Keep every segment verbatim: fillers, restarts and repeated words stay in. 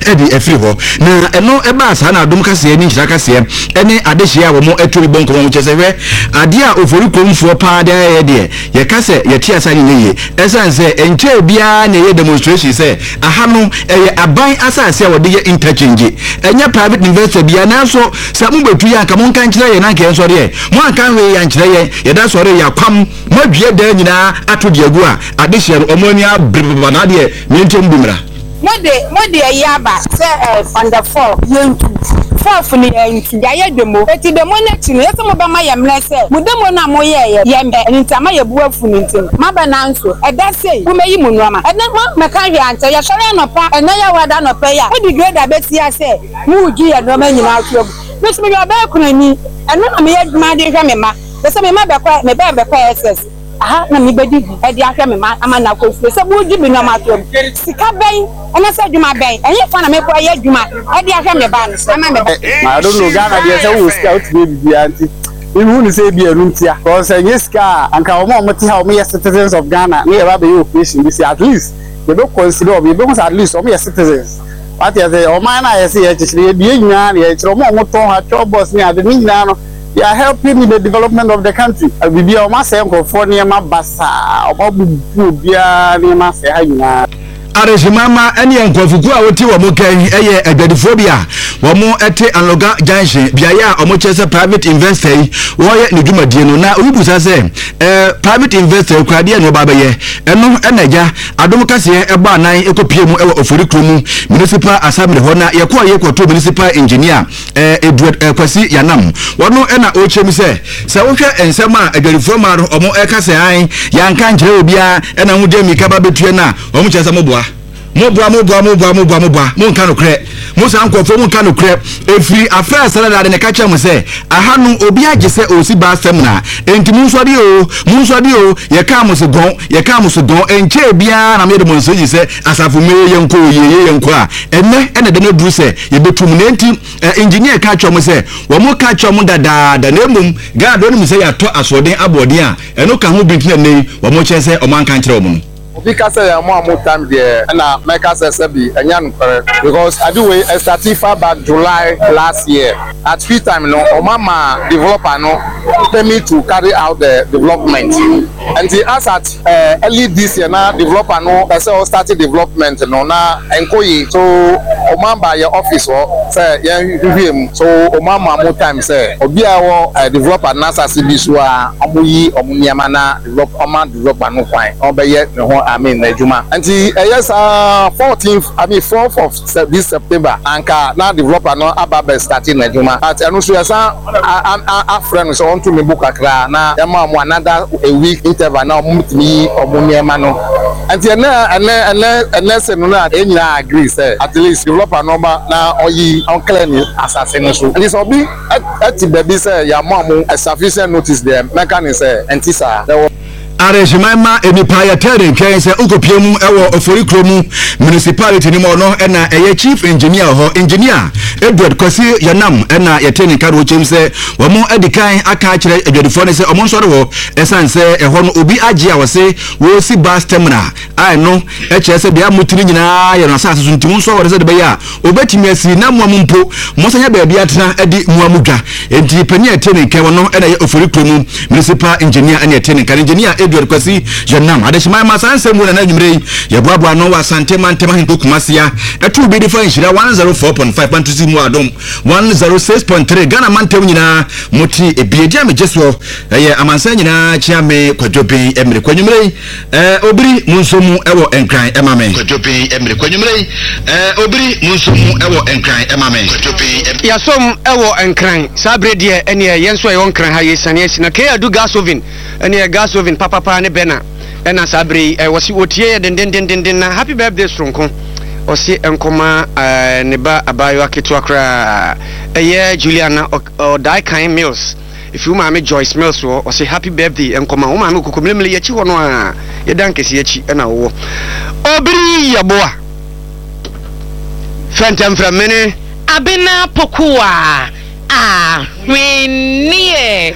Ɛde afiri hɔ na ɛno ɛbaa saa na Adom Kaseɛ ne Nhyira Kaseɛ ɛne adehyɛ a wɔn atu bɔ nkɔmɔ kyɛ sɛ, hwɛ adeɛ a Ofori kuromfoɔ paa de ayɛ deɛ, yɛka sɛ yɛte asa ne yie, ɛsiane sɛ nkyɛn biara na ɛyɛ demonstration sɛ aha no ɛyɛ aban asase a wɔde yɛ interchange, ɛnyɛ private investor biara. Nanso sɛ mobɛtu yɛ anka monka nkyerɛ yɛn, nanka yɛn sɔre mo anka hwee yɛ ankyerɛ yɛn. Yɛda sɔre yɛ akwam moadua dan nyinaa ato deɛ agu a adehyɛ no ɔmo ani abere papa na adeɛ miɛnkyɛm bi mmra. Mode mode ɛyi aba sɛ ɛ on the four yɛntu, fourth no yɛntu, yɛayɛ demo. Eti demo n'akyi no, yɛsɛ mobɛma yɛ mmerɛ sɛ mo demo no a moyɛɛyɛ yɛmpɛ ɛno nti ama yɛbu afu no. Nti no maba, nanso ɛda sei womɛyi mo nneɔma. Ɛnɛ mo mɛka hwɛ ankyɛ yɛsɔre anɔpa, ɛnɛ yɛ wada anɔpa yi a mode grader bɛsi a sɛ mowogye yɛ nneɔma nyinaa so agu. Me so meyɛ ɔbɛyɛ kunani, ɛno na meyɛ adwuma de hwɛ me ma pɛ sɛ me ma bɛkɔ, me bɛɛ bɛkɔ S S aha na mebɛdi bi ɛde ahwɛ me ma ama na akɔ fie. Sɛ wogye me nneɔma so agu, sika bɛn ɛna sɛ adwuma bɛn ɛnyɛ fa na mekɔ ɛyɛ adwuma ɛde ahwɛ me ba no ama me ba? I don't know, Ghana deɛ, sɛ wowɔ sika wotumi yɛ biribiara, nti mehu ne sɛ ebi ɛno ntia, because ɛnyɛ sika a anka wɔn a wɔte ha, wɔn yɛ citizens of Ghana ne yɛba abɛyɛ operation bi si, at least yɛbɛ consider wɔn, yɛbɛhu sɛ at least wɔn yɛ citizens. Wate ase? Ɔman no a yɛsɛ yɛkyekyere yɛdue nyinaa na yɛkyerɛ wɔn a wɔtɔn ha twɛ bɔs ne ade ne nyinaa no, they are helping in the development of the country. Biribi a wɔn asɛe nkurɔfoɔ nneɛma basaa, wɔn abubu obiara nneɛma asɛe ha nyinaa. Adehyemama ne nkurɔfokuo a wɔte wɔn kɛn yɛ adwadifoɔ bi a wɔn te Anloga Junction, beaeɛ a wɔn kyerɛ sɛ private investor yi wɔreyɛ ne dwumadie no. Na obi busa sɛ ɛɛ private investor kura adeɛ na ɔba abɛyɛ ɛno, ɛna agya Adom Kaseɛ ɛbɔ anan ɛkɔpie mu ɛwɔ Ofori kurom Municipal Assembly hɔ na yɛkɔɔ yɛ kɔto municipal engineer ɛɛ Edward ɛɛ Kwasi Yanam. Wɔn ɛna ɔrekyerɛ mu sɛ sɛ wohwɛ nsɛm a adwadifoɔ maa no, wɔn ɛka sɛ an yɛanka nkyerɛ obiara ɛna ho gye mmirika ba bɛtue no a, wɔn kyerɛ sɛ moboa, moboa, moboa, moboa, moboa, moboa, monka nokorɛ. Mo saa nkurɔfoɔ, monka nokorɛ. Ɛfiri afrɛ asɛrɛdade ne ka kyerɛ mo sɛ aha no obi agye sɛ ɔsi bus terminal, enti monsɔre o, monsɔre o. Yɛkaa mo so gɔn, yɛkaa mo so gɔn. Ɛnkyɛɛ biara na meyɛ demonstration sɛ asafo mmɛyɛ yɛnkɔ o, yɛyɛ yɛnkɔ a ɛnɛ ɛna ɛda no aduru sɛ yɛbɛtu mu. Na enti engineer ka kyerɛ mo sɛ wɔn ka kyerɛ mo dadaada, na mmom Ghana deɛ ɔnim sɛ yɛatɔ asoɔden aboɔden a ɛno ka ho bi, nti na nnɛ yi wɔn kyerɛ sɛ wɔn anka nkyerɛ wɔn no. Obi ka sɛ yɛn mo a mo time deɛ, ɛna mɛka sɛ sɛbi ɛnyɛ nokorɛ, because ade wei ɛstart far back July last year. At free time no, ɔmo ama developer no permit to carry out the development. Nti as at uh, early this year na developer no ɛsɛ ɔstart development no na ɛnkɔ yie, so ɔmo aba yɛ office hɔ sɛ yɛn hwehwɛ mu. So ɔmo ama mo time sɛ obi a ɛwɔ uh, developer n'asase bi so a, ɔmo yi ɔmo nneɛma na develop, ɔma developer no kwan na ɔbɛyɛ ne ho, I mean, n'adwuma. Nti ɛyɛ saa fourteenth, I mean, fourth of this September anka na developer no aba bɛ start n'adwuma, but ɛno nso yɛsan afrɛ no sɛ ɔnto ne bo kakra na yɛma ɔmo another a week interval na ɔmo tumi yi ɔmo nneɛma no. Nti ɛnɛ ɛnɛ ɛnɛ ɛnɛ sɛ no na yɛn nyinaa agree sɛ at least developer no ɔba na ɔyi ɔnclear ne asase no so. Nti sɛ ɔbi ɛte baabi sɛ yɛama ɔmo sufficient notice deɛ, mɛka ne sɛ ɛnti saa. Arehyeman ma nipa yɛtɛ ne nkyɛn sɛ wokɔpie mu ɛwɔ Ofori kuro mu municipality no mu, ɔno ɛna ɛyɛ chief engineer hɔ, Engineer Edward Kwasi Yɛnam, ɛna yɛte ne nka no wɔkyɛm sɛ wɔn adi kan aka akyerɛ adwadifoɔ no sɛ ɔmo nsɔre hɔ, ɛsiane sɛ ɛhɔ no obi agye a wɔse wɔresi bus terminal a ɛno ɛkyerɛ sɛ deɛ motiri nyinaa yɛ no asase so, nti mo nso wɔde sɛ de bɛyɛ a obɛtumi asi na mmoa mu mpo mɔsanya baabi atena de mmoa mu dwa. Enti panin a ɛte ne nka wɔ no ɛna ɛyɛ Ofori kuro mu municipal engineer, ɛna ɛte ne nka no, Engineer Edward Kwasi Yɛnam. Adehyeman ma saa nsɛm mu na anwummerɛ yi yɛboaboa no wɔ Asante mantam ahenko Kumase a ɛto bi de fa Nhyira one oh four point five Bantosi mu, Adom one oh six point three Ghana mantam nyinaa mote ebie di a megye soɔ ɛyɛ amansan nyinaa kyea me Kwadwo Ben Mmere kwanwummerɛ yi ɛɛ obiri mu nso mu ɛwɔ Nkran ɛma me Kwadwo Ben Mmere kwanwummerɛ yi ɛɛ obiri mu nso mu ɛwɔ Nkran ɛma me Kwadwo Ben. Yɛasom ɛwɔ Nkran saa berɛ deɛ, ɛneɛ yɛn nso a yɛwɔ Nkran ha yɛsiane asi na K Adu gas oven, ɛneɛ gas oven papapa ne bɛna ɛna saa berɛ yi wɔsi wɔtie yɛ dendendendenden. Na happy birthday soronko ɔse nkɔma ɛɛ ne ba abaayewa ketewa koraa, ɛyɛ Juliana Ɔdae Kan Mills, efi wo maame Joyce Mills wɔ. Ɔse happy birthday nkɔma wo maame Okoko mmerɛmmerɛ yɛkyi hɔ no a yɛda nkɛse akyi ɛna wowɔ obiri yɛboa fɛntɛmfrɛ mene. Abena Pokuwa ahwenneɛ.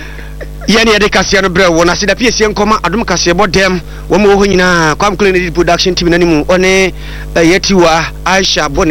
Yɛne yɛde kaseɛ no brɛ wɔ na aseda piesie nkɔma Adom kaseɛbɔ dɛm wɔn wɔ hɔ nyinaa, Kwam Kule ne production team n'anim, ɔne ɛyɛ Tiwa Aisha bɔ ne.